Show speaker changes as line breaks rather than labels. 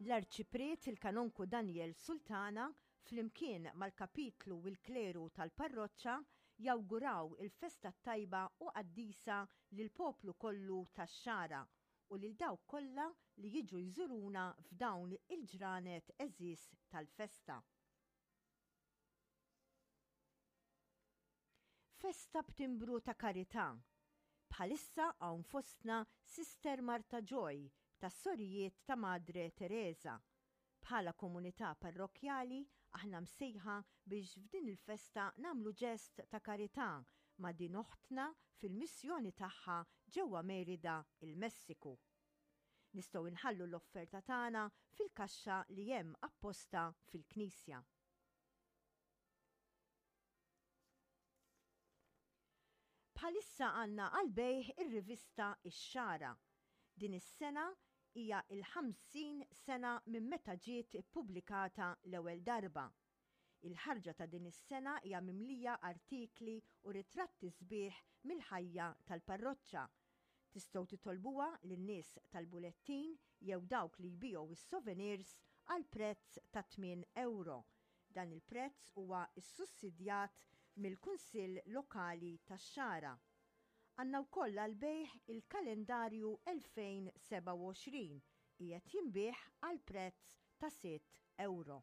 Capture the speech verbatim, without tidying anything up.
L-Arċipriet il-Kanonku Daniel Sultana flimkien mal-kapitlu u l-kleru tal-parroċċa jawguraw il-festa tajba u qaddisa lill-poplu kollu tax-Xagħra u lil dawk kollha li jiġu jżuruna f'dawn il-ġranet għeżież tal-festa. Festa b'timbru ta' karità. Bħalissa hawn fostna Sister Marta Joy tas-Sorijiet ta' Madre Teresa. Bħala komunità parrokkjali aħna msejħa biex f'din il-festa nagħmlu ġest ta' karità ma' din oħtna fil-missjoni tagħha ġewwa Merida, il-Messiku. Nistgħu nħallu l-offerta tagħna fil-kaxxa li hemm apposta fil-knisja. Bħalissa għandna għall-bejgħ ir-rivista Ix-Xagħra. Din is-sena hija l-ħamsin sena minn meta ġiet ippubblikata l-ewwel darba. Il-ħarġa ta' din is-sena hija mimlija artikli u ritratti sbieħ mill-ħajja tal-parroċċa. Tistgħu titolbuha lin-nies tal-bulettin jew dawk li jbigħu s-souvenirs għal prezz ta' tmien ewro. Dan il-prezz huwa ssussidjat mill-Kunsill Lokali tax-Xagħra. Għandna wkoll għall-bejgħ il-kalendarju elfejn sebgħa u għoxrin qiegħed jinbiegħ għal prezz ta' sitt ewro.